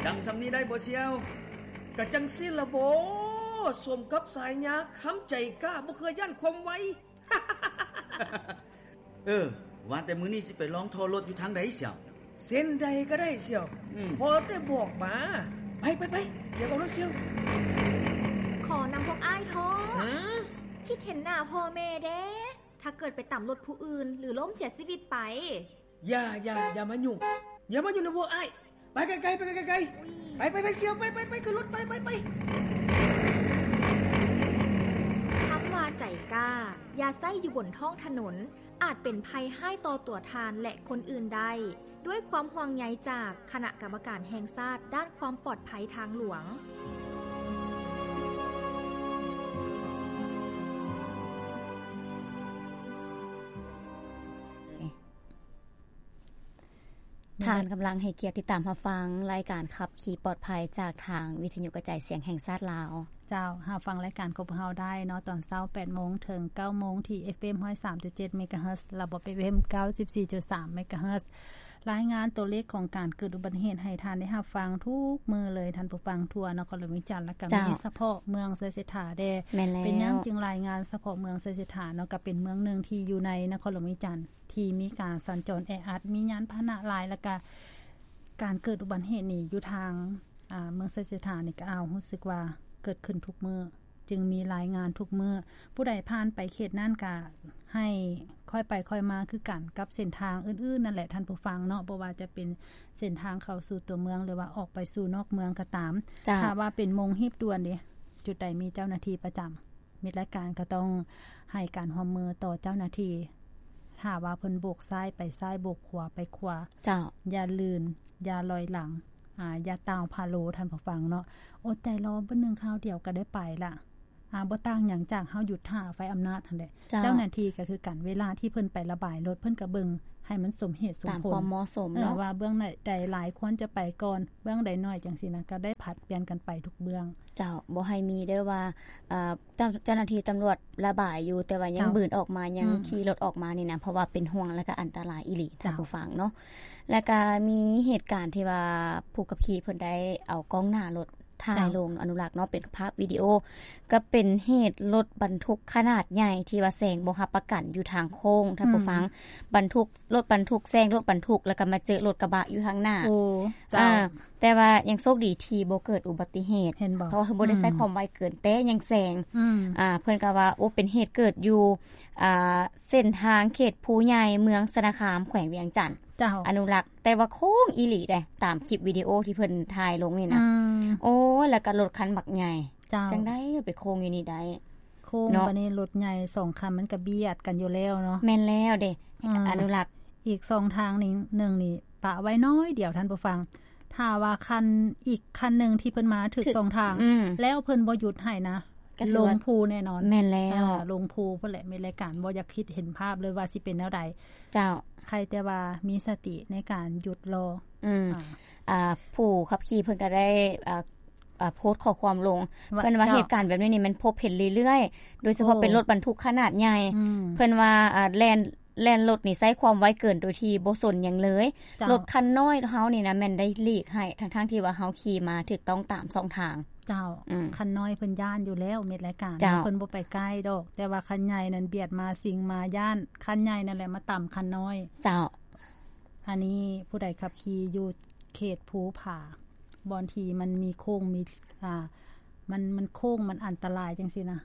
ຈຳສ່ຳນີ້ໄດ້ບໍ່ສ່ຽວ? ກະຈັ່ງຊີ້ລະບໍ ສົມກັບສາຍຍາຄຳໃຈກ້າ ບໍ່ເຄີຍຢ້ານຄວາມໄວ. ເອີ ວ່າແຕ່ມື້ນີ້ຊິໄປລອງທໍ່ລົດຢູ່ທາງໃດສ່ຽວ? ເສັ້ນໃດກໍໄດ້ສ່ຽວ ອືມ ຂໍແຕ່ບອກມາ. ໄປ ໄປ ໄປ ດຽວເອົາລົດສ່ຽວ. ຂໍນຳພວກອ້າຍທໍ່. ຫາ? ຄິດເຫັນໜ້າພໍ່ແມ່ແດ່. ຖ້າເກີດໄປຕຳລົດຜູ້ອື່ນ ຫຼື ລົ້ມເສຍຊີວິດໄປ. ຢ່າ ຢ່າ ຢ່າມາຫຍຸ້ງ ຢ່າມາຫຍຸ້ງນຳພວກອ້າຍ. ໄປໄກໆ ໄປໄກໆ ໄປ ໄປ ໄປສ່ຽວ ໄປ ໄປ ໄປ ຂຶ້ນລົດ ໄປ ໄປ ໄປ. ຄຳວ່າໃຈກ້າ ຢ່າໃຊ້ຢູ່ບົນທ້ອງຖະໜົນ ອາດເປັນໄພຮ້າຍຕໍ່ຕົວທ່ານ ແລະ ຄົນອື່ນໄດ້. ດ້ວຍຄວາມຫ່ວງໃຍຈາກຄະນະກຳມະການແຫ່ງຊາດດ້ານຄວາມປອດໄພທາງຫຼວງ. ທ່ານກຳລັງໃຫ້ກຽດຕິດຕາມຮັບຟັງລາຍການຂັບຂີ່ປອດໄພຈາກທາງວິທະຍຸກະຈາຍສຽງແຫ່ງຊາດລາວ. ເຈົ້າ ຮັບຟັງລາຍການຂອງພວກເຮົາໄດ້ເນາະ ຕອນເຊົ້າແປດໂມງເຖິງເກົ້າໂມງ ທີ່ ເອັຟເອັມ ຮ້ອຍສາມຈຸດເຈັດ ເມກາເຮີດ ລະບົບ ເອັຟເອັມ ເກົ້າສິບສີ່ຈຸດສາມ ເມກາເຮີດ. ລາຍງານຕົວເລກຂອງການເກີດອຸບັດຕິເຫດໃຫ້ທ່ານໄດ້ຮັບຟັງທຸກມື້ເລີຍ ທ່ານຜູ້ຟັງ ທົ່ວນະຄອນຫຼວງວຽງຈັນ ລະກະ ເຈົ້າ ມີສະເພາະເມືອງໄຊເສດຖາແດ່. ແມ່ນແລ້ວ. ເປັນຫຍັງຈຶ່ງລາຍງານສະເພາະເມືອງໄຊເສດຖາເນາະ? ກະເປັນເມືອງໜຶ່ງທີ່ຢູ່ໃນນະຄອນຫຼວງວຽງຈັນ ທີ່ມີການສັນຈອນແອອັດ ມີຍານພາຫະນະຫຼາຍ ລະກະການເກີດອຸບັດຕິເຫດນີ້ຢູ່ທາງ ອາ ເມືອງໄຊເສດຖານີ້ກະ ເອົາ ຮູ້ສຶກວ່າເກີດຂຶ້ນທຸກມື້ ຈຶ່ງມີລາຍງານທຸກມື້. ຜູ້ໃດຜ່ານໄປເຂດນັ້ນກະໃຫ້ຄ່ອຍໄປຄ່ອຍມາຄືກັນກັບເສັ້ນທາງອື່ນໆນັ້ນແຫຼະທ່ານຜູ້ຟັງເນາະ ບໍ່ວ່າຈະເປັນເສັ້ນທາງເຂົ້າສູ່ຕົວເມືອງ ຫຼືວ່າອອກໄປສູ່ນອກເມືອງກໍຕາມ. ເຈົ້າ. ຖ້າວ່າເປັນໂມງຮີບດ່ວນເດ ຈຸດໃດມີເຈົ້າໜ້າທີ່ປະຈຳ ມິດລາຍການກໍຕ້ອງໃຫ້ການຮ່ວມມືຕໍ່ເຈົ້າໜ້າທີ່ ຖ້າວ່າເພິ່ນໂບກຊ້າຍໄປຊ້າຍ ໂບກຂວາໄປຂວາ. ເຈົ້າ. ຢ່າລື່ນ ຢ່າລອຍຫຼັງ ອາ ຢ່າຕ່າວພາໂລທ່ານຜູ້ຟັງເນາະ ອົດໃຈລໍບຶດໜຶ່ງ ຄາວດຽວກໍໄດ້ໄປລະ ອາ ບໍ່ຕ່າງຫຍັງຈາກເຮົາຢຸດຖ້າໄຟອຳນາດຫັ້ນແຫຼະ. ເຈົ້າ. ເຈົ້າໜ້າທີ່ກໍຄືກັນ ເວລາທີ່ເພິ່ນໄປລະບາຍລົດ ເພິ່ນກໍເບິ່ງໃຫ້ມັນສົມເຫດສົມຜົນ ຕາມຄວາມເໝາະສົມເນາະ ວ່າເບື້ອງໃດຫຼາຍຄວນຈະໄປກ່ອນ ເບື້ອງໃດໜ້ອຍ ຈັ່ງຊີ້ນະ ກໍໄດ້ຜັດປ່ຽນກັນໄປທຸກເບື້ອງ. ເຈົ້າ. ບໍ່ໃຫ້ມີເດີວ່າ ເອີ ເຈົ້າ ເຈົ້າໜ້າທີ່ຕຳຫຼວດລະບາຍຢູ່ ແຕ່ວ່າຍັງ ເຈົ້າ ບືນອອກມາ ຍັງ ອືມ ຂີ່ລົດອອກມານີ້ນະ ເພາະວ່າເປັນຫ່ວງ ແລະກະອັນຕະລາຍອີ່ຫຼີ ເຈົ້າ ທ່ານຜູ້ຟັງເນາະ. ແລະກະມີເຫດການທີ່ວ່າຜູ້ຂັບຂີ່ເພິ່ນໄດ້ເອົາກ້ອງໜ້າລົດຖ່າຍ ເຈົ້າ ລົງອະນຸລັກເນາະ ເປັນພາບວິດີໂອ ກໍເປັນເຫດລົດບັນທຸກຂະໜາດໃຫຍ່ທີ່ວ່າແຊງບໍ່ຮັບປະກັນຢູ່ທາງໂຄ້ງ ທ່ານຜູ້ຟັງ ອືມ ບັນທຸກ ລົດບັນທຸກແຊງລົດບັນທຸກ ແລ້ວກໍມາເຈີລົດກະບະຢູ່ທາງໜ້າ. ໂອ້ ເຈົ້າ. ອາ ແຕ່ວ່າຍັງໂຊກດີທີ່ບໍ່ເກີດອຸບັດຕິເຫດ ເຫັນບໍ່? ເພາະວ່າເພິ່ນບໍ່ໄດ້ໃຊ້ ອືມ ຄວາມໄວເກີນ ແຕ່ຍັງແຊງ. ອືມ. ອາ ເພິ່ນກໍວ່າ ໂອ້ ເປັນເຫດເກີດຢູ່ ອາ ເສັ້ນທາງເຂດພູໃຫຍ່ ເມືອງຊະນະຄາມ ແຂວງວຽງຈັນ. ເຈົ້າ. ອະນຸລັກ ແຕ່ວ່າໂຄ້ງອີ່ຫຼີເດ້ ຕາມຄລິບວິດີໂອທີ່ເພິ່ນຖ່າຍລົງນີ້ນະ. ອືມ. ໂອ້ ແລ້ວກໍລົດຄັນບັກໃຫຍ່. ເຈົ້າ. ຈັ່ງໃດໄປໂຄ້ງຢູ່ນີ້ໄດ້? ໂຄ້ງ ເນາະ ບາດນີ້ລົດໃຫຍ່ສອງຄັນມັນກະບຽດກັນຢູ່ແລ້ວເນາະ. ແມ່ນແລ້ວເດ້ ອືມ ອະນຸລັກ ອີກຊ່ອງທາງນີ້ ໜຶ່ງນີ້ປະໄວ້ໜ້ອຍດຽວທ່ານຜູ້ຟັງ ຖ້າວ່າຄັນ ອີກຄັນໜຶ່ງທີ່ເພິ່ນມາຖືກ ຖືກ ຊ່ອງທາງ ອືມ ແລ້ວເພິ່ນບໍ່ຢຸດໃຫ້ນະ ກໍຖືວ່າລົງພູແນ່ນອນ. ແມ່ນແລ້ວ ເອີ ລົງພູພຸ້ນແຫຼະ ມີລາຍການບໍ່ຢາກຄິດເຫັນພາບເລີຍວ່າຊິເປັນແນວໃດ. ເຈົ້າ. ໃຄແຕ່ວ່າມີສະຕິໃນການຢຸດລໍ. ອືມ ອາ ອາ ຜູ້ຂັບຂີ່ເພິ່ນກໍໄດ້ ອາ ອາ ໂພສຂໍ້ຄວາມລົງ ວ່າ ເພິ່ນວ່າ ເຈົ້າ ເຫດການແບບນີ້ນີ້ມັນພົບເຫັນເລື້ອຍໆ ໂດຍສະເພາະ ໂອ້ ເປັນລົດບັນທຸກຂະໜາດໃຫຍ່. ອືມ. ເພິ່ນວ່າ ອາ ແລ່ນ ແລ່ນລົດນີ້ໃຊ້ຄວາມໄວເກີນໂດຍທີ່ບໍ່ສົນຫຍັງເລີຍ. ເຈົ້າ. ລົດຄັນນ້ອຍເຮົານີ້ນະແມ່ນໄດ້ຫຼີກໃຫ້ ທັງໆທີ່ວ່າເຮົາຂີ່ມາຖືກຕ້ອງຕາມຊ່ອງທາງ. ເຈົ້າ. ອືມ. ຄັນນ້ອຍເພິ່ນຢ້ານຢູ່ແລ້ວ ມິດລາຍການ ເຈົ້າ ເພິ່ນບໍ່ໄປໃກ້ດອກ ແຕ່ວ່າຄັນໃຫຍ່ນັ້ນບຽດມາ ຊິງມາ ຢ້ານຄັນໃຫຍ່ນັ້ນແຫຼະມາຕຳຄັນນ້ອຍ. ເຈົ້າ. ອັນນີ້ຜູ້ໃດຂັບຂີ່ຢູ່ເຂດພູຜາ ບ່ອນທີ່ມັນມີໂຄ້ງ ມີ ອ່າ ມັນ ມັນໂຄ້ງ ມັນອັນຕະລາຍຈັ່ງຊີ້ນະ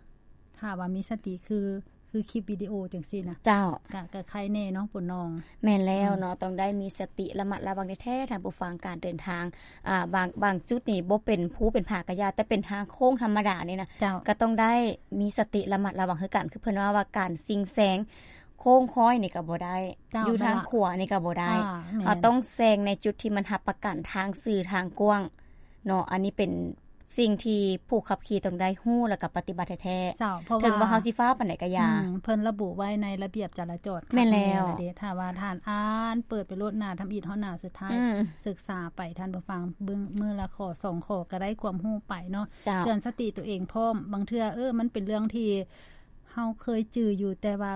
ຖ້າວ່າມີສະຕິ ຄື ຄືຄລິບວິດີໂອຈັ່ງຊີ້ນະ. ເຈົ້າ. ກະ ກະໄຄແນ່ເນາະ ປົວນ້ອງ. ແມ່ນແລ້ວເນາະ ອືມ ຕ້ອງໄດ້ມີສະຕິ ລະມັດລະວັງແທ້ໆ ທ່ານຜູ້ຟັງ ການເດີນທາງ ອ່າ ບາງ ບາງຈຸດນີ້ບໍ່ເປັນພູເປັນຜາກະຢ່າ ແຕ່ເປັນທາງໂຄ້ງທຳມະດານີ້ນະ. ເຈົ້າ. ກະຕ້ອງໄດ້ມີສະຕິ ລະມັດລະວັງຄືກັນ ຄືເພິ່ນວ່າ ວ່າການຊິງແຊງ ໂຄ້ງຄ້ອຍນີ້ກໍບໍ່ໄດ້ ເຈົ້າ ຢູ່ທາງຂວານີ້ກໍບໍ່ໄດ້. ອ່າ ແມ່ນ. ເຮົາຕ້ອງແຊງໃນຈຸດທີ່ມັນຮັບປະກັນທາງຊື່ທາງກວ້າງເນາະ ອັນນີ້ເປັນສິ່ງທີ່ຜູ້ຂັບຂີ່ຕ້ອງໄດ້ຮູ້ ແລ້ວກໍປະຕິບັດແທ້ໆ. ເຈົ້າ ເພາະ ເຖິງວ່າ ວ່າເຮົາຊິຟ້າວປານໃດກໍຢ່າ. ອືມ ເພິ່ນລະບຸໄວ້ໃນລະບຽບຈະລາຈອນ. ແມ່ນແລ້ວ. ເທົ່ານັ້ນແຫຼະເດ້ ຖ້າວ່າທ່ານອ່ານເປີດໄປໂລດ ໜ້າທຳອິດຮອດໜ້າສຸດທ້າຍ ອືມ ສຶກສາໄປ ທ່ານຜູ້ຟັງ ເບິ່ງມື້ລະຂໍ້ສອງຂໍ້ກໍໄດ້ຄວາມຮູ້ໄປເນາະ. ເຈົ້າ. ເຕືອນສະຕິຕົວເອງພ້ອມ ບາງເທື່ອ ເອີ ມັນເປັນເລື່ອງທີ່ ເຮົາເຄີຍຈື່ຢູ່ ແຕ່ວ່າ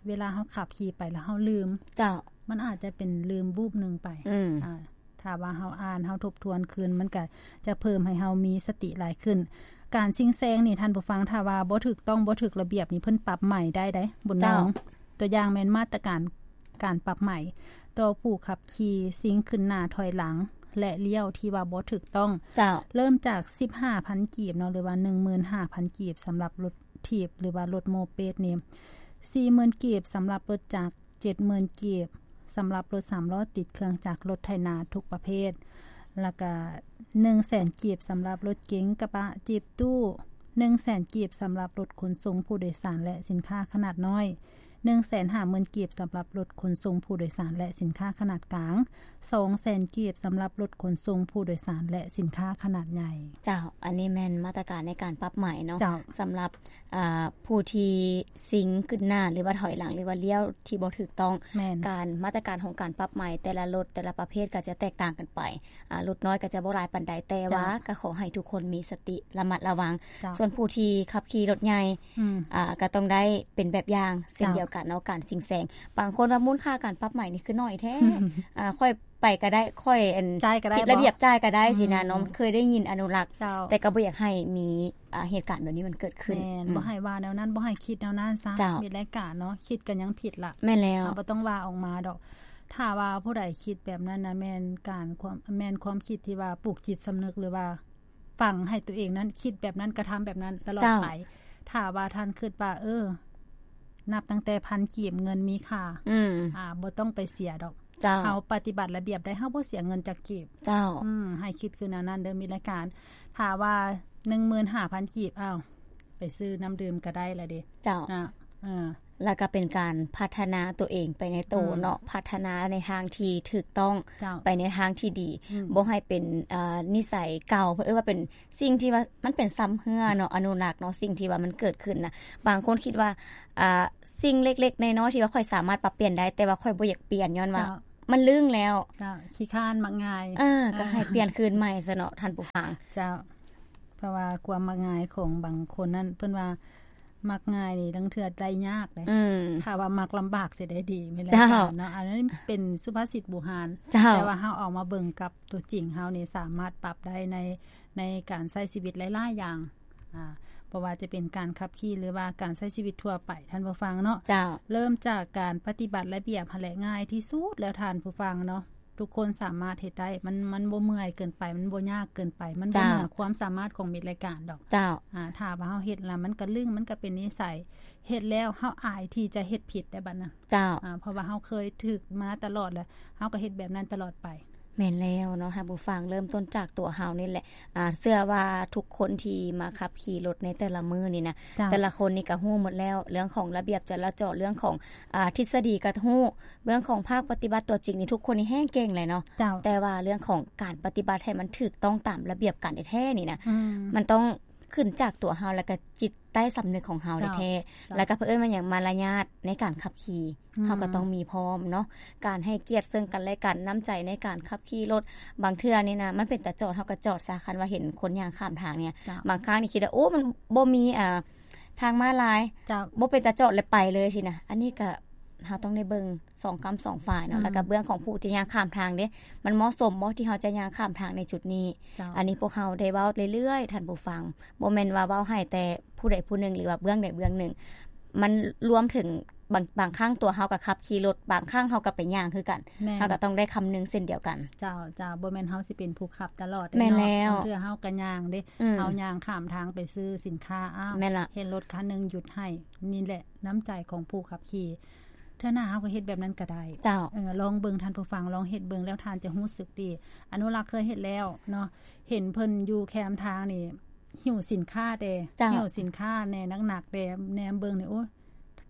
ເວລາເຮົາຂັບຂີ່ໄປແລ້ວເຮົາລືມ. ເຈົ້າ. ມັນອາດຈະເປັນລືມວູບໜຶ່ງໄປ. ອືມ. ອ່າ ຖ້າວ່າເຮົາອ່ານ ເຮົາທົບທວນຄືນ ມັນກະຈະເພີ່ມໃຫ້ເຮົາມີສະຕິຫຼາຍຂຶ້ນ. ການຊິງແຊງນີ້ ທ່ານຜູ້ຟັງ ຖ້າວ່າບໍ່ຖືກຕ້ອງ ບໍ່ຖືກລະບຽບນີ້ ເພິ່ນປັບໃໝໄດ້ໃດ ບຸນນອງ. ຕົວຢ່າງແມ່ນມາດຕະການການປັບໃໝຕໍ່ຜູ້ຂັບຂີ່ຊິງຂຶ້ນໜ້າຖອຍຫຼັງ ແລະ ລ້ຽວທີ່ວ່າບໍ່ຖືກຕ້ອງ. ເລີ່ມຈາກສິບຫ້າພັນກີບເນາະ ຫຼືວ່າໜຶ່ງໝື່ນຫ້າພັນກີບ ສຳລັບລົດຖີບ ຫຼືວ່າລົດໂມເປດນີ້, ສີ່ໝື່ນກີບ ສຳລັບລົດຈັກ, ເຈັດໝື່ນກີບ ສຳລັບລົດສາມລໍ້ຕິດເຄື່ອງຈັກ, ລົດໄຖນາທຸກປະເພດ, ແລ້ວກະໜຶ່ງແສນກີບ ສຳລັບລົດເກັງ, ກະບະ, ຈີບ, ຕູ້, ໜຶ່ງແສນກີບ ສຳລັບລົດຂົນສົ່ງຜູ້ໂດຍສານ ແລະ ສິນຄ້າຂະໜາດນ້ອຍ, ໜຶ່ງແສນຫ້າໝື່ນກີບ ສຳລັບລົດຂົນສົ່ງຜູ້ໂດຍສານ ແລະ ສິນຄ້າຂະໜາດກາງ, ສອງແສນກີບ ສຳລັບລົດຂົນສົ່ງຜູ້ໂດຍສານ ແລະ ສິນຄ້າຂະໜາດໃຫຍ່. ເຈົ້າ, ອັນນີ້ແມ່ນມາດຕະການໃນການປັບໃໝເນາະ. ເຈົ້າ. ສຳລັບ ອ່າ ຜູ້ທີ່ຊິງຂຶ້ນໜ້າ ຫຼືວ່າຖອຍຫຼັງ ຫຼືວ່າລ້ຽວທີ່ບໍ່ຖືກຕ້ອງ. ແມ່ນ. ການ ມາດຕະການຂອງການປັບໃໝແຕ່ລະລົດແຕ່ລະປະເພດກໍຈະແຕກຕ່າງກັນໄປ. ອ່າ ລົດນ້ອຍກໍຈະບໍ່ຫຼາຍປານໃດ ແຕ່ວ່າ ເຈົ້າ ກໍຂໍໃຫ້ທຸກຄົນມີສະຕິລະມັດລະວັງ. ເຈົ້າ. ສ່ວນຜູ້ທີ່ຂັບຂີ່ລົດໃຫຍ່ ອືມ ອ່າ ກໍຕ້ອງໄດ້ເປັນແບບຢ່າງເຊັ່ນ ເຈົ້າ ດຽວກັນເນາະ ການຊິງແຊງ. ບາງຄົນວ່າມູນຄ່າການປັບໃໝນີ້ຄືໜ້ອຍແທ້ ອ່າ ຂ້ອຍ ໄປກໍໄດ້ ຂ້ອຍ ອັນ ຈ່າຍກໍໄດ້ ຜິດລະບຽບ ບໍ່? ຈ່າຍກໍໄດ້ ອືມ ຊີ້ນະເນາະ. ເຄີຍໄດ້ຍິນອະນຸລັກ ເຈົ້າ ແຕ່ກໍບໍ່ຢາກໃຫ້ມີ ອ່າ ເຫດການແບບນີ້ມັນເກີດຂຶ້ນ. ແມ່ນ ອືມ ບໍ່ໃຫ້ວ່າແນວນັ້ນ ບໍ່ໃຫ້ຄິດແນວນັ້ນຊະ. ເຈົ້າ. ມີລາຍການເນາະ ຄິດກໍຍັງຜິດລະ. ແມ່ນແລ້ວ. ເຮົາບໍ່ຕ້ອງວ່າອອກມາດອກ. ຖ້າວ່າຜູ້ໃດຄິດແບບນັ້ນນະ ແມ່ນການຄວາມ ແມ່ນຄວາມຄິດທີ່ວ່າປູກຈິດສຳນຶກ ຫຼືວ່າຝັງໃຫ້ຕົວເອງນັ້ນຄິດແບບນັ້ນ ກະທຳແບບນັ້ນຕະຫຼອດ ເຈົ້າ ໄປ. ຖ້າວ່າທ່ານຄິດວ່າ ເອີ ນັບຕັ້ງແຕ່ພັນກີບເງິນມີຄ່າ ອືມ ອ່າ ບໍ່ຕ້ອງໄປເສຍດອກ. ເຈົ້າ. ເຮົາປະຕິບັດລະບຽບໄດ້ ເຮົາບໍ່ເສຍເງິນຈັກກີບ. ເຈົ້າ. ອືມ ໃຫ້ຄິດຄືແນວນັ້ນເດີ ມິດລາຍການ. ຖ້າວ່າໜຶ່ງໝື່ນຫ້າພັນກີບ ອ້າວ ໄປຊື້ນ້ຳດື່ມກໍໄດ້ລະເດ. ເຈົ້າ. ນະ ເອີ ແລ້ວກໍເປັນການພັດທະນາຕົວເອງໄປໃນໂຕ ອືມ ເນາະ ພັດທະນາໃນທາງທີ່ຖືກຕ້ອງ ເຈົ້າ ໄປໃນທາງທີ່ດີ. ອືມ ບໍ່ໃຫ້ເປັນ ເອີ ນິໄສເກົ່າ ເພິ່ນເອີ້ນວ່າເປັນ ສິ່ງທີ່ວ່າມັນເປັນຊຳເຮື້ອເນາະ ອະນຸລັກເນາະ ສິ່ງທີ່ວ່າມັນເກີດຂຶ້ນນະ. ບາງຄົນຄິດວ່າ ອ່າ ສິ່ງເລັກໆນ້ອຍໆທີ່ວ່າຂ້ອຍສາມາດປັບປ່ຽນໄດ້ ແຕ່ວ່າຂ້ອຍບໍ່ຢາກປ່ຽນ ຍ້ອນວ່າ ເຈົ້າ ມັນລຶ້ງແລ້ວ. ເຈົ້າ. ຂີ້ຄ້ານ ມັກງ່າຍ. ເອີ ກໍໃຫ້ປ່ຽນຄືນໃໝ່ຊະເນາະ ທ່ານຜູ້ຟັງ. ເຈົ້າ. ເພາະວ່າຄວາມມັກງ່າຍຂອງບາງຄົນນັ້ນ ເພິ່ນວ່າມັກງ່າຍນີ້ ລາງເທື່ອໄດ້ຍາກເດ້. ອືມ. ຖ້າວ່າມັກລຳບາກຊິໄດ້ດີ ແມ່ນແລ້ວ. ເຈົ້າ. ເນາະ ອັນນັ້ນເປັນສຸພາສິດບູຮານ. ເຈົ້າ. ແຕ່ວ່າເຮົາເອົາມາເບິ່ງກັບຕົວຈິງເຮົານີ້ ສາມາດປັບໄດ້ໃນ ໃນການໃຊ້ຊີວິດຫຼາຍໆຢ່າງ ອ່າ ບໍ່ວ່າຈະເປັນການຂັບຂີ່ ຫຼືວ່າການໃຊ້ຊີວິດທົ່ວໄປ ທ່ານຜູ້ຟັງເນາະ. ເຈົ້າ. ເລີ່ມຈາກການປະຕິບັດລະບຽບຫັ້ນແຫຼະ ງ່າຍທີ່ສຸດແລ້ວ ທ່ານຜູ້ຟັງເນາະ. ທຸກຄົນສາມາດເຮັດໄດ້ ມັນ ມັນບໍ່ເມື່ອຍເກີນໄປ ມັນບໍ່ຍາກເກີນໄປ ມັນບໍ່ ເຈົ້າ ເໜືອຄວາມສາມາດຂອງມິດລາຍການດອກ. ເຈົ້າ. ອ່າ ຖ້າວ່າເຮົາເຮັດແລ້ວ ມັນກະລຶ້ງ ມັນກະເປັນນິໄສ ເຮັດແລ້ວເຮົາອາຍທີ່ຈະເຮັດຜິດໄດ້ບັດນັ້ນ. ເຈົ້າ. ອ່າ ເພາະວ່າເຮົາເຄີຍຖືກມາຕະຫຼອດແລ້ວ ເຮົາກໍເຮັດແບບນັ້ນຕະຫຼອດໄປ. ແມ່ນແລ້ວເນາະ ທ່ານຜູ້ຟັງ ເລີ່ມຕົ້ນຈາກຕົວເຮົານີ້ແຫຼະ. ອ່າ ເຊື່ອວ່າທຸກຄົນທີ່ມາຂັບຂີ່ລົດໃນແຕ່ລະມື້ນີ້ນະ ເຈົ້າ ແຕ່ລະຄົນນີ້ກໍຮູ້ໝົດແລ້ວ ເລື່ອງຂອງລະບຽບຈະລາຈອນ ເລື່ອງຂອງ ອ່າ ທິດສະດີກໍຮູ້ ເລື່ອງຂອງພາກປະຕິບັດຕົວຈິງນີ້ ທຸກຄົນນີ້ແຮ່ງເກັ່ງແຫຼະເນາະ. ເຈົ້າ. ແຕ່ວ່າເລື່ອງຂອງການປະຕິບັດໃຫ້ມັນຖືກຕ້ອງຕາມລະບຽບການແທ້ໆນີ້ນະ ອືມ ມັນຕ້ອງຂຶ້ນຈາກຕົວເຮົາ ແລ້ວກໍຈິດໃຕ້ສຳນຶກຂອງເຮົາ ເຈົ້າ ແທ້ໆ. ເຈົ້າ. ແລ້ວກໍເພິ່ນເອີ້ນວ່າຫຍັງ ມາລະຍາດໃນການຂັບຂີ່ ອືມ ເຮົາກໍຕ້ອງມີພ້ອມເນາະ ການໃຫ້ກຽດເຊິ່ງກັນແລະກັນ ນ້ຳໃຈໃນການຂັບຂີ່ລົດ. ບາງເທື່ອນີ້ນະ ມັນເປັນຕາຈອດ ເຮົາກໍຈອດຊະ ຄັນວ່າເຫັນຄົນຍ່າງຂ້າມທາງນີ້. ເຈົ້າ. ບາງຄັ້ງນີ້ຄິດວ່າ ໂອ້ ມັນບໍ່ມີ ອ່າ ທາງມ້າລາຍ ເຈົ້າ ບໍ່ເປັນຕາຈອດ ແລ້ວໄປເລີຍຊີ້ນະ. ອັນນີ້ກໍເຮົາຕ້ອງໄດ້ເບິ່ງສອງກ້ຳສອງຝ່າຍເນາະ. ອືມ. ແລ້ວກໍເບື້ອງຂອງຜູ້ທີ່ຍ່າງຂ້າມທາງເດ້ ມັນເໝາະສົມບໍ່ທີ່ເຮົາຈະຍ່າງຂ້າມທາງໃນຈຸດນີ້? ເຈົ້າ. ອັນນີ້ພວກເຮົາໄດ້ເວົ້າເລື້ອຍໆ ທ່ານຜູ້ຟັງ ບໍ່ແມ່ນວ່າເວົ້າໃຫ້ແຕ່ຜູ້ໃດຜູ້ໜຶ່ງ ຫຼືວ່າເບື້ອງໃດເບື້ອງໜຶ່ງ ມັນລວມເຖິງບາງ ບາງຄັ້ງຕົວເຮົາກໍຂັບຂີ່ລົດ ບາງຄັ້ງເຮົາກໍໄປຍ່າງຄືກັນ. ແມ່ນ. ເຮົາກໍຕ້ອງໄດ້ຄຳນຶງເຊັ່ນດຽວກັນ. ເຈົ້າ ເຈົ້າ ບໍ່ແມ່ນເຮົາຊິເປັນຜູ້ຂັບຕະຫຼອດເດ້. ແມ່ນແລ້ວ. ບາງເທື່ອເຮົາກໍຍ່າງເດ້. ອືມ. ເຮົາຍ່າງຂ້າມທາງໄປຊື້ສິນຄ້າ ອ້າວ ແມ່ນລະ ເຫັນລົດຄັນໜຶ່ງຢຸດໃຫ້. ນີ້ແຫຼະ ນ້ຳໃຈຂອງຜູ້ຂັບຂີ່. ເທື່ອໜ້າເຮົາກໍເຮັດແບບນັ້ນກໍໄດ້. ເຈົ້າ. ເອີ ລອງເບິ່ງ ທ່ານຜູ້ຟັງ ລອງເຮັດເບິ່ງ ແລ້ວທ່ານຈະຮູ້ສຶກດີ. ອະນຸລັກເຄີຍເຮັດແລ້ວເນາະ ເຫັນເພິ່ນຢູ່ແຄມທາງນີ້ ຫິ້ວສິນຄ້າແດ່. ເຈົ້າ. ຫິ້ວສິນຄ້າແດ່ ໜັກໆແດ່ ແນມເບິ່ງນີ້ ໂອ້ຍ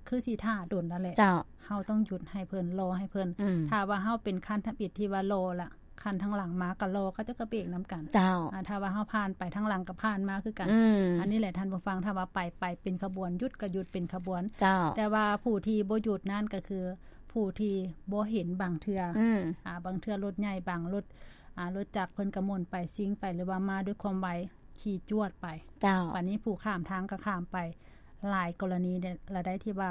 ຄືຊິຖ້າດົນນັ້ນແຫຼະ. ເຈົ້າ. ເຮົາຕ້ອງຢຸດໃຫ້ເພິ່ນ ລໍໃຫ້ເພິ່ນ. ອືມ. ຖ້າວ່າເຮົາເປັນຄັນທຳອິດທີ່ວ່າລໍລະ ຄັນທາງຫຼັງມາກໍລໍ ເຂົາເຈົ້າກໍເບກນຳກັນ. ເຈົ້າ. ອ່າ ຖ້າວ່າເຮົາຜ່ານໄປ ທາງຫຼັງກໍຜ່ານມາຄືກັນ. ອືມ. ອັນນີ້ແຫຼະທ່ານຜູ້ຟັງ ຖ້າວ່າໄປ ໄປເປັນຂະບວນ ຢຸດກໍຢຸດເປັນຂະບວນ. ເຈົ້າ. ແຕ່ວ່າຜູ້ທີ່ບໍ່ຢຸດນັ້ນກໍຄືຜູ້ທີ່ບໍ່ເຫັນບາງເທື່ອ. ອືມ. ອ່າ ບາງເທື່ອລົດໃຫຍ່ ບາງລົດ ອ່າ ລົດຈັກເພິ່ນກໍໝູນໄປ ຊິງໄປ ຫຼືວ່າມາດ້ວຍຄວາມໄວ ຂີ່ຈວດໄປ. ເຈົ້າ. ບາດນີ້ຜູ້ຂ້າມທາງກໍຂ້າມໄປ. ຫຼາຍກໍລະນີລະໃດທີ່ວ່າ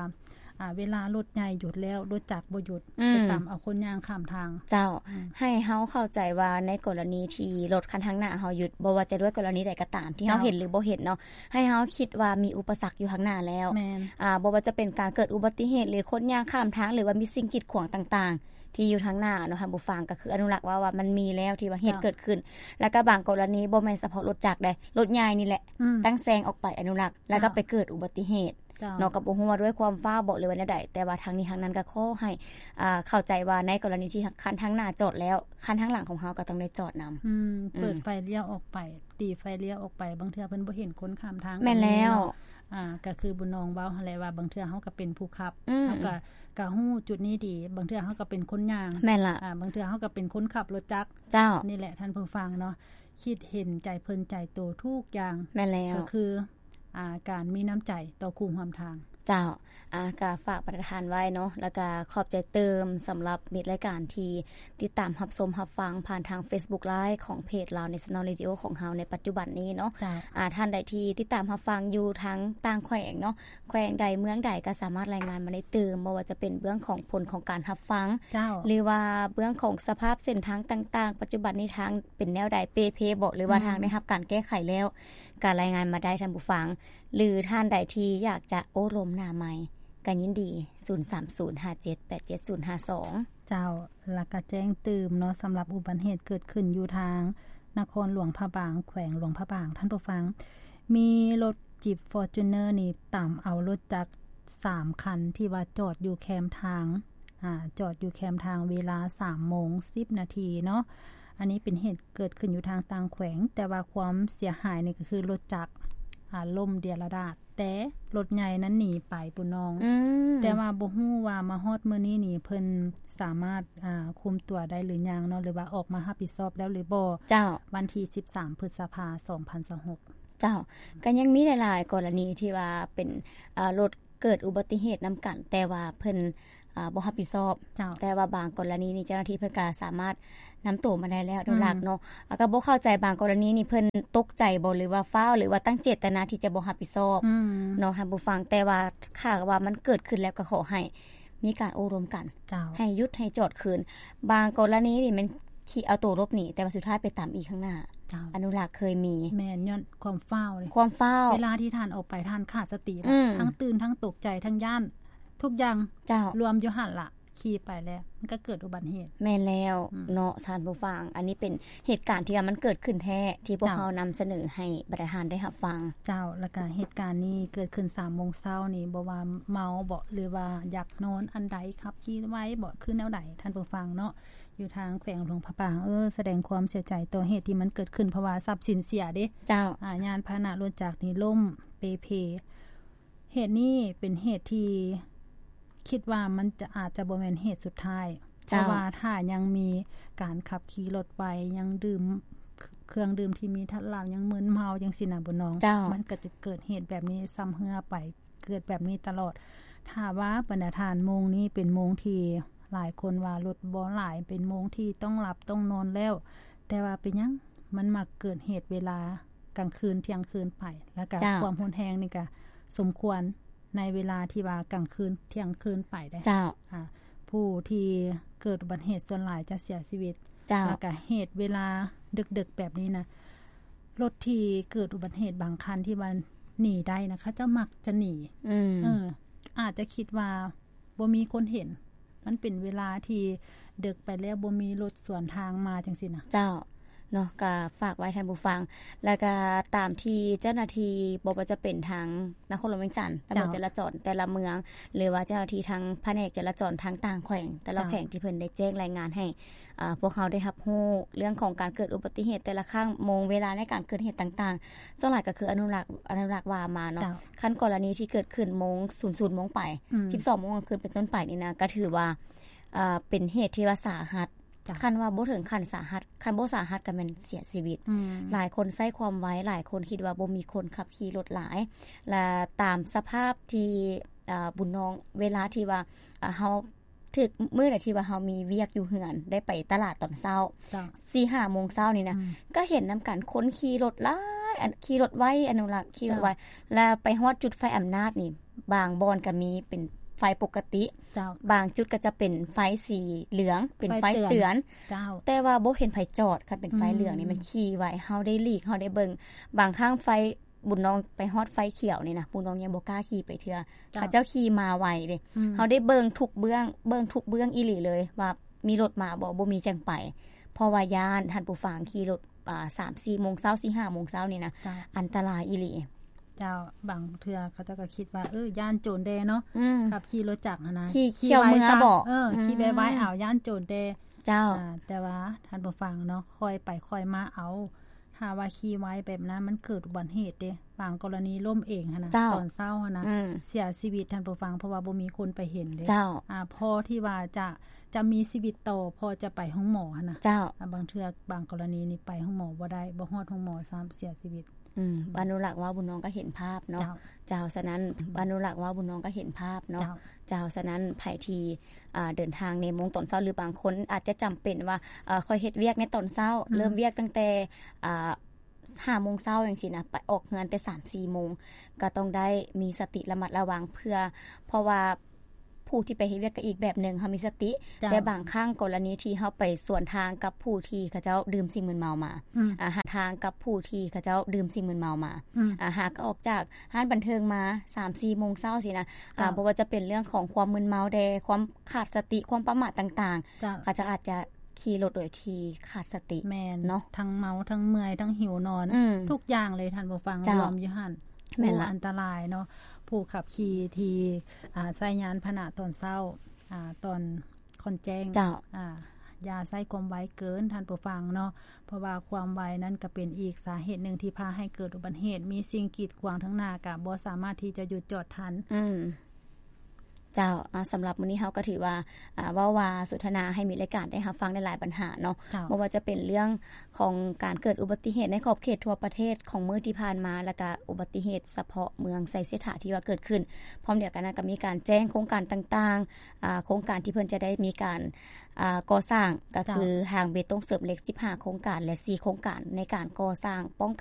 ອ່າ ເວລາລົດໃຫຍ່ຢຸດແລ້ວ ລົດຈັກບໍ່ຢຸດ ອືມ ໄປຕຳເອົາຄົນຍ່າງຂ້າມທາງ. ເຈົ້າ ອືມ ໃຫ້ເຮົາເຂົ້າໃຈວ່າໃນກໍລະນີທີ່ລົດຄັນທາງໜ້າເຮົາຢຸດ ບໍ່ວ່າຈະດ້ວຍກໍລະນີໃດກໍຕາມ ເຈົ້າ ທີ່ເຮົາເຫັນ ຫຼື ບໍ່ເຫັນເນາະ ໃຫ້ເຮົາຄິດວ່າມີອຸປະສັກຢູ່ທາງໜ້າແລ້ວ. ແມ່ນ ອ່າ ບໍ່ວ່າຈະເປັນການເກີດອຸບັດຕິເຫດ ຫຼື ຄົນຍ່າງຂ້າມທາງ ຫຼືວ່າມີສິ່ງກີດຂວາງຕ່າງໆ ທີ່ຢູ່ທາງໜ້າເນາະ ທ່ານຜູ້ຟັງ ກໍຄືອະນຸລັກວ່າ ວ່າມັນມີແລ້ວທີ່ວ່າເຫດ ເຈົ້າ ເກີດຂຶ້ນ. ແລ້ວກໍບາງກໍລະນີບໍ່ແມ່ນສະເພາະລົດຈັກເດ້ ລົດໃຫຍ່ນີ້ແຫຼະ ອືມ ຕັ້ງແຊງອອກໄປ ອະນຸລັກ ແລ້ວກໍ ເຈົ້າ ໄປເກີດອຸບັດຕິເຫດ ເຈົ້າ ເນາະ ກໍບໍ່ຮູ້ວ່າດ້ວຍຄວາມຟ້າວບໍ ຫຼືວ່າແນວໃດ ແຕ່ວ່າທາງນີ້ທາງນັ້ນກໍຂໍໃຫ້ ອ່າ ເຂົ້າໃຈວ່າໃນກໍລະນີທີ່ຄັນທາງໜ້າຈອດແລ້ວ ຄັນທາງຫຼັງຂອງເຮົາກໍຕ້ອງໄດ້ຈອດນຳ. ອືມ ອືມ ເປີດໄຟລ້ຽວອອກໄປ ຕີໄຟລ້ຽວອອກໄປ ບາງເທື່ອເພິ່ນບໍ່ເຫັນຄົນຂ້າມທາງ. ແມ່ນແລ້ວ ກໍມີເນາະ. ອ່າ ກໍຄືບຸນນອງເວົ້າຫັ້ນແຫຼະວ່າ ບາງເທື່ອເຮົາກໍເປັນຜູ້ຂັບ ອືມ ເຮົາກໍ ກໍຮູ້ຈຸດນີ້ດີ ບາງເທື່ອເຮົາກໍເປັນຄົນຍ່າງ. ແມ່ນລະ. ອ່າ ບາງເທື່ອເຮົາກໍເປັນຄົນຂັບລົດຈັກ. ເຈົ້າ ນີ້ແຫຼະທ່ານຜູ້ຟັງເນາະ ຄິດເຫັນໃຈເພິ່ນໃຈໂຕທຸກຢ່າງ. ແມ່ນແລ້ວ ກໍຄື ອ່າ ການມີນ້ຳໃຈຕໍ່ຄູ່ຮ່ວມທາງ. ເຈົ້າ ອ່າ ກໍຝາກປະທານໄວ້ເນາະ ແລ້ວກໍຂອບໃຈຕື່ມສຳລັບມິດລາຍການທີ່ຕິດຕາມຮັບຊົມຮັບຟັງຜ່ານທາງ Facebook Live ຂອງເພຈ Lao National Radio ຂອງເຮົາໃນປັດຈຸບັນນີ້ເນາະ. ເຈົ້າ ອ່າ ທ່ານໃດທີ່ຕິດຕາມຮັບຟັງຢູ່ທາງຕ່າງແຂວງເນາະ ແຂວງໃດເມືອງໃດກໍສາມາດລາຍງານມາໄດ້ຕື່ມ ບໍ່ວ່າຈະເປັນເບື້ອງຂອງຜົນຂອງການຮັບຟັງ ເຈົ້າ ຫຼືວ່າເບື້ອງຂອງສະພາບເສັ້ນທາງຕ່າງໆ ປັດຈຸບັນນີ້ທາງເປັນແນວໃດ ເປ່ເພບໍ ຫຼືວ່າ ອືມ ທາງໄດ້ຮັບການແກ້ໄຂແລ້ວ ກໍລາຍງານມາໄດ້ທ່ານຜູ້ຟັງ ຫຼືທ່ານໃດທີ່ຢາກຈະໂອ້ລົມໜ້າໄມ ກໍຍິນດີ ສູນສາມສູນຫ້າເຈັດແປດເຈັດສູນຫ້າສອງ. ເຈົ້າ ແລ້ວກໍແຈ້ງຕື່ມເນາະ ສຳລັບອຸບັດຕິເຫດເກີດຂຶ້ນຢູ່ທາງນະຄອນຫຼວງພະບາງ ແຂວງຫຼວງພະບາງ ທ່ານຜູ້ຟັງ ມີລົດຈີບຟໍຈູນເນີນີ້ຕຳເອົາລົດຈັກສາມຄັນ ທີ່ວ່າຈອດຢູ່ແຄມທາງ ອ່າ ຈອດຢູ່ແຄມທາງເວລາສາມໂມງສິບນາທີເນາະ. ອັນນີ້ເປັນເຫດເກີດຂຶ້ນຢູ່ທາງຕ່າງແຂວງ ແຕ່ວ່າຄວາມເສຍຫາຍນີ້ກໍຄືລົດຈັກ ອ່າ ລົ້ມເດຍລະດາດ ແຕ່ລົດໃຫຍ່ນັ້ນໜີໄປ ປຸ້ນນ້ອງ. ອືມ ແຕ່ວ່າບໍ່ຮູ້ວ່າມາຮອດມື້ນີ້ນີ້ ເພິ່ນສາມາດ ອ່າ ຄຸມຕົວໄດ້ຫຼືຍັງເນາະ ຫຼືວ່າອອກມາຮັບຜິດຊອບແລ້ວຫຼືບໍ່? ເຈົ້າ ວັນທີສິບສາມ ພຶດສະພາ ສອງພັນຊາວຫົກ. ເຈົ້າ ກໍຍັງມີຫຼາຍໆກໍລະນີທີ່ວ່າເປັນ ອ່າ ລົດເກີດອຸບັດຕິເຫດນຳກັນ ແຕ່ວ່າເພິ່ນ ອ່າ ບໍ່ຮັບຜິດຊອບ. ເຈົ້າ ແຕ່ວ່າບາງກໍລະນີນີ້ ເຈົ້າໜ້າທີ່ເພິ່ນກໍສາມາດນຳໂຕມາໄດ້ແລ້ວ ໂດຍຫຼັກເນາະ. ອືມ ແລ້ວກໍບໍ່ເຂົ້າໃຈ ບາງກໍລະນີນີ້ເພິ່ນຕົກໃຈບໍ ຫຼືວ່າຟ້າວ ຫຼືວ່າຕັ້ງເຈດຕະນາທີ່ຈະບໍ່ຮັບຜິດຊອບ ອືມ ເນາະ ທ່ານຜູ້ຟັງ. ແຕ່ວ່າຖ້າຫາກວ່າມັນເກີດຂຶ້ນແລ້ວ ກໍຂໍໃຫ້ມີການໂອ້ລົມກັນ ເຈົ້າ ໃຫ້ຢຸດໃຫ້ຈອດຄືນ. ບາງກໍລະນີນີ້ແມ່ນຂີ່ເອົາໂຕຫຼົບໜີ ແຕ່ວ່າສຸດທ້າຍໄປຕຳອີກຂ້າງໜ້າ. ເຈົ້າ ອະນຸລັກເຄີຍມີ. ແມ່ນ ຍ້ອນຄວາມຟ້າວເດ້ ຄວາມຟ້າວ ເວລາທີ່ທ່ານອອກໄປ ທ່ານຂາດສະຕິລະ ອືມ ທັງຕື່ນ ທັງຕົກໃຈ ທັງຢ້ານ ທຸກຢ່າງ ເຈົ້າ ລວມຢູ່ຫັ້ນລະ ຂີ່ໄປແລ້ວ ມັນກໍເກີດອຸບັດເຫດ. ແມ່ນແລ້ວ ອືມ ເນາະ ທ່ານຜູ້ຟັງ ອັນນີ້ເປັນເຫດການທີ່ວ່າມັນເກີດຂຶ້ນແທ້ ທີ່ພວກ ເຈົ້າ ເຮົານຳສະເໜີໃຫ້ບັນດາທ່ານໄດ້ຮັບຟັງ. ເຈົ້າ ແລ້ວກະເຫດການນີ້ເກີດຂຶ້ນສາມໂມງເຊົ້ານີ້ ບໍ່ວ່າເມົາບໍ ຫຼືວ່າຢາກນອນອັນໃດ ຂັບຂີ່ໄວບໍ ຄືແນວໃດ ທ່ານຜູ້ຟັງເນາະ ຢູ່ທາງແຂວງຫຼວງພະບາງ. ເອີ ສະແດງຄວາມເສຍໃຈຕໍ່ເຫດທີ່ມັນເກີດຂຶ້ນ ເພາະວ່າຊັບສິນເສຍເດ້. ເຈົ້າ ອາ ຍານພາຫະນະລົດຈັກນີ້ລົ້ມເປ່ເພ. ເຫດນີ້ເປັນເຫດທີ່ຄິດວ່າມັນຈະ ອາດຈະບໍ່ແມ່ນເຫດສຸດທ້າຍ ເຈົ້າ ເພາະວ່າຖ້າຍັງມີການຂັບຂີ່ລົດໄວ ຍັງດື່ມເຄື່ອງດື່ມທີ່ມີທາດເຫຼົ້າ ຍັງມຶນເມົາຈັ່ງຊີ້ນະ ບຸນນ້ອງ ເຈົ້າ ມັນກໍຈະເກີດເຫດແບບນີ້ຊ້ຳເຮື້ອໄປ ເກີດແບບນີ້ຕະຫຼອດ. ຖ້າວ່າບັນດາທ່ານ ໂມງນີ້ເປັນໂມງທີ່ຫຼາຍຄົນວ່າລົດບໍ່ຫຼາຍ ເປັນໂມງທີ່ຕ້ອງຫຼັບຕ້ອງນອນແລ້ວ ແຕ່ວ່າເປັນຫຍັງມັນມັກເກີດເຫດເວລາກາງຄືນ ທ່ຽງຄືນໄປ ແລ້ວກະ ເຈົ້າ ຄວາມຮຸນແຮງນີ້ກະສົມຄວນໃນເວລາທີ່ວ່າກາງຄືນ ທ່ຽງຄືນໄປເດ້. ເຈົ້າ ອ່າ ຜູ້ທີ່ເກີດອຸບັດເຫດສ່ວນຫຼາຍຈະເສຍຊີວິດ. ເຈົ້າ ແລ້ວກະເຫດເວລາດຶກໆແບບນີ້ນະ ລົດທີ່ເກີດອຸບັດເຫດບາງຄັນທີ່ວ່າໜີໄດ້ນະ ເຂົາເຈົ້າມັກຈະໜີ. ອືມ ເອີ ອາດຈະຄິດວ່າ ບໍ່ມີຄົນເຫັນ ມັນເປັນເວລາທີ່ເດິກໄປແລ້ວ ບໍ່ມີລົດສວນທາງມາຈັ່ງຊີ້ນະ. ເຈົ້າ ເນາະ ກະຝາກໄວ້ທ່ານຜູ້ຟັງ ແລ້ວກະຕາມທີ່ເຈົ້າໜ້າທີ່ ບໍ່ວ່າຈະເປັນທາງນະຄອນຫຼວງວຽງຈັນ ຕຳຫຼວດ ເຈົ້າ ຈະລາຈອນແຕ່ລະເມືອງ ຫຼືວ່າເຈົ້າໜ້າທີ່ທາງພະແນກຈະລາຈອນທາງຕ່າງແຂວງ ແຕ່ລະ ເຈົ້າ ແຂວງທີ່ເພິ່ນໄດ້ແຈ້ງລາຍງານໃຫ້ ອ່າ ພວກເຮົາໄດ້ຮັບຮູ້ເລື່ອງຂອງການເກີດອຸບັດຕິເຫດແຕ່ລະຄັ້ງ ໂມງເວລາໃນການເກີດເຫດຕ່າງໆ ສ່ວນຫຼາຍກໍຄືອະນຸລັກ ອະນຸລັກວ່າມາເນາະ. ເຈົ້າ ຄັນກໍລະນີທີ່ເກີດຂຶ້ນໂມງ ສູນສູນໂມງໄປ ອືມ ສິບສອງໂມງກາງຄືນເປັນຕົ້ນໄປນີ້ນະ ກໍຖືວ່າ ເອີ ເປັນເຫດທີ່ວ່າສາຫັດ. ເຈົ້າ ຄັນວ່າບໍ່ເຖິງຂັ້ນສາຫັດ ຄັນບໍ່ສາຫັດກໍແມ່ນເສຍຊີວິດ. ອືມ ຫຼາຍຄົນໃຊ້ຄວາມໄວ ຫຼາຍຄົນຄິດວ່າບໍ່ມີຄົນຂັບຂີ່ລົດຫຼາຍ ແລະ ຕາມສະພາບທີ່ ເອີ ບຸນນ້ອງ ເວລາທີ່ວ່າ ເອີ ເຮົາ ຖືກມື້ໃດທີ່ວ່າເຮົາມີວຽກຢູ່ເຮືອນ ໄດ້ໄປຕະຫຼາດຕອນເຊົ້າ ເຈົ້າ ສີ່ຫ້າໂມງເຊົ້ານີ້ນະ ອືມ ກໍເຫັນນຳກັນ ຄົນຂີ່ລົດຫຼາຍ ອັນ ຂີ່ລົດໄວ ອະນຸລັກ ຂີ່ລົດໄວ ເຈົ້າ ແລ້ວໄປຮອດຈຸດໄຟອຳນາດນີ້ ບາງບ່ອນກໍມີເປັນ ໄຟປົກກະຕິ ເຈົ້າ ບາງຈຸດກໍຈະເປັນໄຟສີເຫຼືອງ ເປັນໄຟເຕືອນ ເຈົ້າ ແຕ່ວ່າບໍ່ເຫັນໃຜຈອດ ຄັນເປັນໄຟເຫຼືອງນີ້ ອືມ ມັນຂີ່ໄວ ເຮົາໄດ້ຫຼີກ ເຮົາໄດ້ເບິ່ງ ບາງຄັ້ງໄຟ ບຸນນ້ອງໄປຮອດໄຟຂຽວນີ້ນະ ບຸນນ້ອງຍັງບໍ່ກ້າຂີ່ໄປເທື່ອ ເຈົ້າ ເຂົາເຈົ້າຂີ່ມາໄວເດ້ ອືມ ເຮົາໄດ້ເບິ່ງທຸກເບື້ອງ ເບິ່ງທຸກເບື້ອງອີ່ຫຼີເລີຍວ່າມີລົດມາບໍ່ ບໍ່ມີຈັ່ງໄປ ເພາະວ່າຢ້ານ ທ່ານຜູ້ຟັງ ຂີ່ລົດ ອ່າ ສາມສີ່ໂມງເຊົ້າ ສີ່ຫ້າໂມງເຊົ້ານີ້ນະ ເຈົ້າ ອັນຕະລາຍອີ່ຫຼີ ເຈົ້າ ບາງເທື່ອເຂົາເຈົ້າກໍຄິດວ່າ ເອີ ຢ້ານໂຈນແດ່ເນາະ ອືມ ຂັບຂີ່ລົດຈັກຫັ້ນນະ ຂີ່ ຂີ່ໄວຊະ ເອີ ອືມ ຂີ່ໄວໆ ອ້າວ ຢ້ານໂຈນແດ່ ເຈົ້າ ອ່າ ແຕ່ວ່າທ່ານຜູ້ຟັງເນາະ ຄ່ອຍໄປຄ່ອຍມາເອົາ ຖ້າວ່າຂີ່ໄວແບບນັ້ນ ມັນເກີດອຸບັດເຫດເດ້ ບາງກໍລະນີລົ້ມເອງຫັ້ນນະ ເຈົ້າ ຕອນເຊົ້າຫັ້ນນະ ອືມ ເສຍຊີວິດ ທ່ານຜູ້ຟັງ ເພາະວ່າບໍ່ມີຄົນໄປເຫັນເດ້ ເຈົ້າ ອ່າ ພໍທີ່ວ່າຈະ ຈະມີຊີວິດຕໍ່ ພໍຈະໄປໂຮງໝໍຫັ້ນນະ ເຈົ້າ ອ່າ ບາງເທື່ອ ບາງກໍລະນີນີ້ໄປໂຮງໝໍບໍ່ໄດ້ ບໍ່ຮອດໂຮງໝໍຊ້ຳ ເສຍຊີວິດ ອືມ ອືມ ອານຸລັກເວົ້າ ບຸນນ້ອງກໍເຫັນພາບເນາະ ເຈົ້າ ເຈົ້າ ສະນັ້ນ ອານຸລັກເວົ້າ ບຸນນ້ອງກໍເຫັນພາບເນາະ ເຈົ້າ ເຈົ້າ ສະນັ້ນ ໃຜທີ່ ອ່າ ເດີນທາງໃນໂມງຕອນເຊົ້າ ຫຼືບາງຄົນອາດຈະຈຳເປັນວ່າ ເອີ ຂ້ອຍເຮັດວຽກໃນຕອນເຊົ້າ ອືມ ເລີ່ມວຽກຕັ້ງແຕ່ ອ່າ ຫ້າໂມງເຊົ້າຈັ່ງຊີ້ນະ ໄປອອກເຮືອນແຕ່ສາມສີ່ໂມງ ກໍຕ້ອງໄດ້ມີສະຕິລະມັດລະວັງ ເພື່ອ ເພາະວ່າຜູ້ທີ່ໄປເຮັດວຽກກໍອີກແບບໜຶ່ງ ເຮົາມີສະຕິ ເຈົ້າ ແຕ່ບາງຄັ້ງກໍລະນີທີ່ເຮົາໄປສວນທາງກັບຜູ້ທີ່ເຂົາເຈົ້າດື່ມສິ່ງມຶນເມົາມາ ອືມ ອ່າ ຫາທາງກັບຜູ້ທີ່ເຂົາເຈົ້າດື່ມສິ່ງມຶນເມົາມາ ອືມ ອ່າ ຫາກໍອອກຈາກຮ້ານບັນເທີງມາສາມສີ່ໂມງເຊົ້າຊີ້ນະ ເຈົ້າ ອ່າ ບໍ່ວ່າຈະເປັນເລື່ອງຂອງຄວາມມຶນເມົາແດ່ ຄວາມຂາດສະຕິ ຄວາມປະໝາດຕ່າງໆ ເຈົ້າ ເຂົາເຈົ້າອາດຈະ ຂີ່ລົດໂດຍທີ່ຂາດສະຕິ ແມ່ນເນາະ ທັງເມົາ ທັງເມື່ອຍ ທັງຫິວນອນ ອືມ ທຸກຢ່າງເລີຍ ທ່ານຜູ້ຟັງ ເຈົ້າ ລວມຢູ່ຫັ້ນ ແມ່ນລະ ໂອ້ ອັນຕະລາຍເນາະ ຜູ້ຂັບຂີ່ທີ່ ອ່າ ໃຊ້ຍານພາຫະນະຕອນເຊົ້າ ອ່າ ຕອນຄ່ອນແຈ້ງ ເຈົ້າ ອ່າ ຢ່າໃຊ້ຄວາມໄວເກີນ ທ່ານຜູ້ຟັງເນາະ ເພາະວ່າຄວາມໄວນັ້ນກໍເປັນອີກສາເຫດໜຶ່ງທີ່ພາໃຫ້ເກີດອຸບັດເຫດ ມີສິ່ງກີດຂວາງທາງໜ້າ ກໍບໍ່ສາມາດທີ່ຈະຢຸດຈອດທັນ ອືມ ເຈົ້າ ອ່າ ສຳລັບມື້ນີ້ເຮົາກໍຖືວ່າ ອ່າ ເວົ້າວ່າສົນທະນາໃຫ້ມິດລາຍການໄດ້ຮັບຟັງຫຼາຍໆບັນຫາເນາະ ເຈົ້າ ບໍ່ວ່າຈະເປັນເລື່ອງຂອງການເກີດອຸບັດຕິເຫດໃນຂອບເຂດທົ່ວປະເທດຂອງມື້ທີ່ຜ່ານມາ ແລ້ວກະອຸບັດຕິເຫດສະເພາະເມືອງໄຊເສດຖາທີ່ວ່າເກີດຂຶ້ນ ພ້ອມດຽວກັນນັ້ນກໍມີການແຈ້ງໂຄງການຕ່າງໆ ອ່າ ໂຄງການທີ່ເພິ່ນຈະໄດ້ມີການ ອ່າ ກໍ່ສ້າງ ກໍຄື ເຈົ້າ ທາງເບຕົງເສີມເຫຼັກສິບຫ້າໂຄງການ ແລະ ສີ່ໂຄງການໃນການກໍ່ສ້າງປ້ອງກັນ